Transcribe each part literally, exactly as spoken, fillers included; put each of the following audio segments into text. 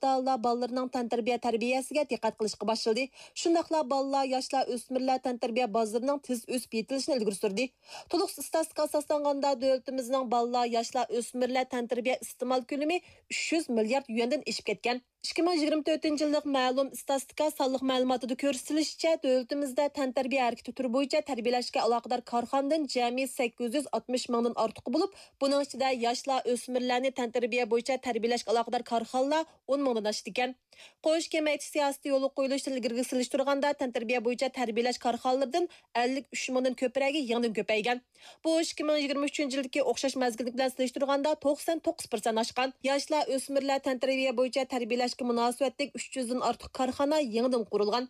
ئاتا-ئانىلار بالىلىرىنىڭ تەنتەربىيە تەربىيەسىگە دىققەت قىلىشقا باشلىدى. شۇنداقلا بالىلار، ياشلار، ئۆسمۈرلەر تەنتەربىيە بازىرىنىڭ تېز ئۆسۈپ يېتىلىشىنى ئىلگىرى سۈردى. تولۇق ئىستاتىستىكا ئاساسلانغاندا، دۆلىتىمىزنىڭ بالىلار، ياشلار، ئۆسمۈرلەر تەنتەربىيە ئىستېمال كۆلىمى ئۈچ يۈز مىليارد يۈەندىن ئېشىپ كەتكەن. ئىككى مىڭ يىگىرمە تۆتىنچى يىللىق مەلۇم ئىستاتىستىكا سانلىق مەلۇماتىدا كۆرسىتىلىشىچە، دۆلىتىمىزدە تەنتەربىيە ھەرىكىتى تۈرى بويىچە تەربىيەلەشكە ئالاقىدار كارخانىدىن جەمئىي سەككىز يۈز ئاتمىش مىڭدىن ئارتۇقى بولۇپ، بۇنىڭ ئىچىدە ياشلار، ئۆسمۈرلەرنى تەنتەربىيە بويىچە تەربىيەلەشكە ئالاقىدار كارخانىلار ئون مىڭدىن ئاشىدىكەن. قوش كېڭەيتىش سىياسىتى يولغا قويۇلۇشتىن ئىلگىرىكىگە سېلىشتۇرغاندا، تەنتەربىيە بويىچە تەربىيەلەش كارخانىلىرىدىن ئەللىك ئۈچ مىڭدىن كۆپرەكى يېڭىدىن كۆپەيگەن. بۇ ئىككى مىڭ يىگىرمە ئۈچىنچى يىلدىكى ئوخشاش مەزگىل بىلەن سېلىشتۇرغاندا، توقسان توققۇز پىرسەنت ئاشقان. ياشلار، ئۆسمۈرلەر تەنتەربىيە بويىچە تەربىيەلەشكە مۇناسىۋەتلىك ئۈچ يۈزدىن ئارتۇق كارخانا يېڭىدىن قۇرۇلغان.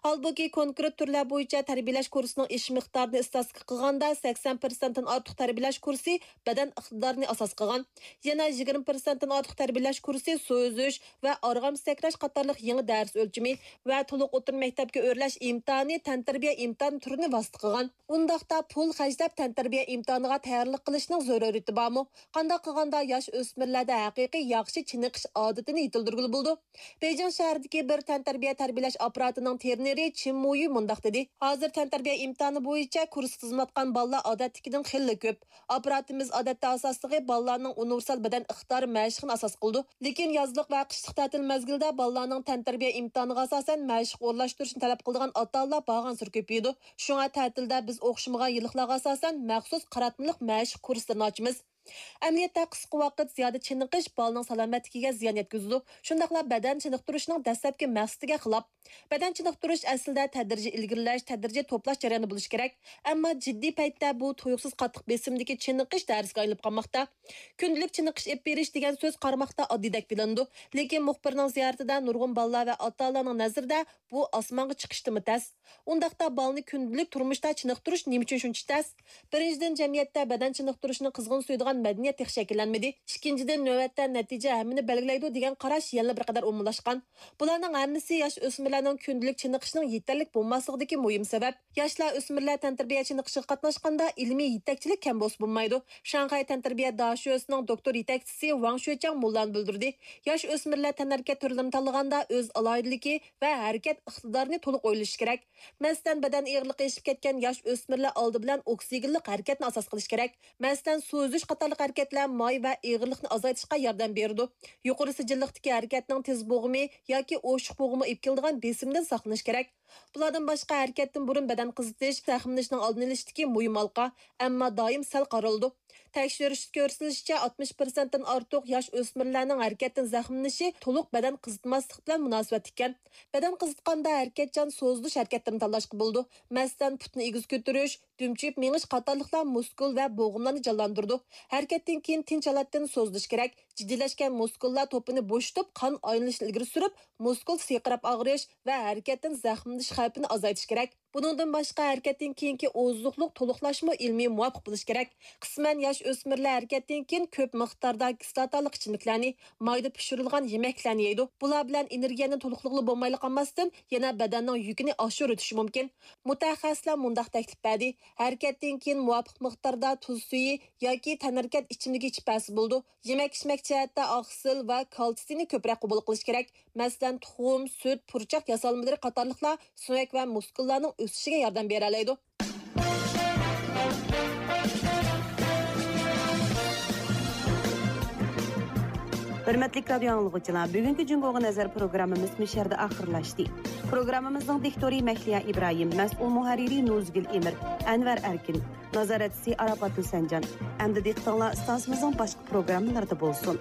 ھالبۇكى، كونكرېت تۈرلەر بويىچە تەربىيەلەش كۇرسىنىڭ ئېشىش مىقدارىنى ئىستاتىستىكا قىلغاندا، سەكسەن پىرسەنتتىن ئارتۇق تەربىيەلەش كۇرسى بەدەن ئىقتىدارىنى ئاساس قىلغان. يەنە يىگىرمە پىرسەنتتىن ئارتۇق تەربىيەلەش كۇرسى سۇ ئۈزۈش ۋە ئارغامچا سەكرەش قاتارلىق يېڭى دەرس ئۆلچىمى ۋە تولۇق ئوتتۇرا مەكتەپكە ئۆرلەش ئىمتىھانى تەنتەربىيە ئىمتىھان تۈرىنى ۋاسىتە قىلغان. ئۇنداقتا پۇل خەجلەپ تەنتەربىيە ئىمتىھانىغا تەييارلىق قىلىشنىڭ زۆرۈرىيىتى بارمۇ؟ قانداق قىلغاندا ياش ئۆسمۈرلەردە ھەقىقىي ياخشى چېنىقىش ئادىتىنى يېتىلدۈرگىلى بولىدۇ؟ بېيجىڭ شەھىرىدىكى بىر تەنتەربىيە تەربىيەلەش ئاپپاراتىنىڭ ترېنېرى چىن مۇيۈ مۇنداق دېدى: ھازىر تەنتەربىيە ئىمتىھانى بويىچە كۇرس تىزىملاتقان بالىلار ئادەتتىكىدىن خېلىلا كۆپ. ئاپپاراتىمىز ئادەتتە ئاساسلىقى بالىلارنىڭ ئۇنىۋېرسال بەدەن ئىقتىدارى مەشىقىنى ئاساس قىلىدۇ. لېكىن يازلىق ۋە قىشلىق تەتىل مەزگىلىدە بالىلارنىڭ تەنتەربىيە ئىمتىھانىغا ئاساسەن مەشىق ئورۇنلاشتۇرۇشنى تەلەپ قىلىدىغان ئاتا-ئانىلار بارغانسېرى كۆپىيىدۇ. شۇڭا تەتىلدە بىز ئوخشىمىغان يىللىقلارغا ئاساسەن مەخسۇس قاراتمىلىق مەشىق كۇرسلىرىنى ئاچىمىز. ئەمەلىيەتتە قىسقا ۋاقىت زىيادە چېنىقىش بالىنىڭ سالامەتلىكىگە زىيان يەتكۈزىدۇ، شۇنداقلا بەدەن چېنىقتۇرۇشنىڭ دەسلەپكى مەقسىتىگە خىلاپ. بەدەن چېنىقتۇرۇش ئەسلىدە تەدرىجىي ئىلگىرىلەش، تەدرىجىي توپلاش جەريانى بولۇشى كېرەك. ئەمما جىددىي پەيتتە بۇ تۇيۇقسىز قاتتىق بېسىمدىكى چېنىقىش دەرسكە ئايلىنىپ قالماقتا. كۈندىلىك چېنىقىش ئېلىپ بېرىش دېگەن سۆز قارىماقتا ئاددىيدەك بىلىنىدۇ، لېكىن مۇخبىرنىڭ زىيارىتىدە نۇرغۇن بالىلار ۋە ئاتا-ئانىلارنىڭ نەزىرىدە بۇ ئاسمانغا چىقىشتىنمۇ تەس. ئۇنداقتا بالىنى كۈندىلىك تۇرمۇشتا چېنىقتۇرۇش نېمە ئۈچۈن شۇنچە تەس؟ بىرىنچىدىن، جەمئىيەتتە بەدەن چېنىقتۇرۇشنى قىزغىن سۆيىدىغان مەدەنىيەت تېخى شەكىللەنمىدى. ئىككىنچىدىن، نۆۋەتتە نەتىجە ھەممىنى بەلگىلەيدۇ دېگەن قاراش يەنىلا بىر قەدەر ئومۇملاشقان. بۇلارنىڭ ھەممىسى ياش ئۆسمۈرلەرنىڭ كۈندىلىك چېنىقىشنىڭ يېتەرلىك بولماسلىقىدىكى مۇھىم سەۋەب. ياشلار، ئۆسمۈرلەر تەنتەربىيە چېنىقىشىغا قاتناشقاندا ئىلمىي يېتەكچىلىك كەم بولسا بولمايدۇ. شاڭخەي تەنتەربىيە داشۆسىنىڭ دوكتور يېتەكچىسى ۋاڭ شۆچياڭ مۇنۇلارنى بىلدۈردى: ياش ئۆسمۈرلەر تەنھەرىكەت تۈرلىرىنى تاللىغاندا ئۆز ئالاھىدىلىكى ۋە ھەرىكەت ئىقتىدارىنى تولۇق ئويلىشى كېرەك. مەسىلەن، بەدەن ئېغىرلىقى ئېشىپ كەتكەن ياش ئۆسمۈرلەر ئالدى بىلەن ئوكسىگېنلىق ھەرىكەتنى ئاساس قىلىشى كېرەك. مەسىلەن، سۇ ئۈزۈش قاتارلىق ھەرىكەتلەر ماي ۋە ئېغىرلىقنى ئازايتىشقا ياردەم بېرىدۇ. يۇقىرى سىجىللىقتىكى ھەرىكەتنىڭ تېز بوغۇمى ياكى ئوشۇق بوغۇمى ئېلىپ كېلىدىغان بېسىمدىن ساقلىنىش كېرەك. بۇلاردىن باشقا، ھەرىكەتتىن بۇرۇن بەدەن قىزىتىش زەخىملىنىشنىڭ ئالدىنى ئېلىشتىكى مۇھىم ھالقا، ئەمما دائىم سەل قارىلىدۇ. تەكشۈرۈشتە كۆرسىتىلىشىچە، ئاتمىش پىرسەنتتىن ئارتۇق ياش ئۆسمۈرلەرنىڭ ھەرىكەتتىن زەخىملىنىشى تولۇق بەدەن قىزىتماسلىق بىلەن مۇناسىۋەتلىك ئىكەن. بەدەن قىزىتقاندا ھەرىكەتچان سوزۇلۇش ھەرىكەتلىرىنى تاللاشقا بولىدۇ. مەسىلەن، پۇتنى ئېگىز كۆتۈرۈش، دۈمچىيىپ مېڭىش قاتارلىقلار مۇسكۇل ۋە بوغۇملارنى جانلاندۇرىدۇ. ھەرىكەتتىن كېيىن تىنچ ھالەتتىن سوزۇلۇش كېرەك. جىددىيلەشكەن مۇسكۇللار توپىنى بوشىتىپ، قان ئايلىنىشنى ئىلگىرى سۈرۈپ، مۇسكۇل سىرقىراپ ئاغرىش ۋە ھەرىكەتتىن زەخىملىنىش خەۋپىنى ئازايتىش كېرەك. بۇنىڭدىن باشقا، ھەرىكەتتىن كېيىنكى ئوزۇقلۇق تولۇقلاشمۇ ئىلمىي مۇۋاپىق بولۇشى كېرەك. قىسمەن ياش ئۆسمۈرلەر ھەرىكەتتىن كېيىن كۆپ مىقداردا كىسلاتالىق ئىچىملىكلەرنى، مايدا پىشۇرۇلغان يېمەكلەرنى يەيدۇ. بۇلار بىلەن ئېنېرگىيەنى تولۇقلىغىلى بولمايلا قالماستىن، يەنە بەدەننىڭ يۈكىنى ئاشۇرۇۋېتىشى مۇمكىن. مۇتەخەسسىسلەر مۇنداق تەكلىپ بەردى: ھەرىكەتتىن كېيىن مۇۋاپىق مىقداردا تۇز سۈيى ياكى تەنھەرىكەت ئىچىملىكى ئىچىپ بەرسە بولىدۇ. يېمەك-ئىچمەك جەھەتتە ئاقسىل ۋە كالتسىينى كۆپرەك قوبۇل قىلىش كېرەك. مەسىلەن، تۇخۇم، سۈت، پۇرچاق ياسالمىلىرى قاتارلىقلار سۆڭەك ۋە مۇسكۇللارنىڭ ئۆسۈشىگە ياردەم بېرەلەيدۇ. ھۆرمەتلىك رادىيو ئاڭلىغۇچىلار، بۈگۈنكى جۇڭگوغا نەزەر پروگراممىمىز مۇشۇ يەردە ئاخىرلاشتى. پروگراممىمىزنىڭ دىكتورى مەھلىيا ئىبراھىم، مەسئۇل مۇھەررىرى نۇزگۈل ئېمىر، ئەنۋەر ئەركىن، نازارەتچىسى ئاراپات ھۈسەنجان. ئەمدى دىققىتىڭلار ئىستانسىمىزنىڭ باشقا پروگراممىلىرىدا بولسۇن.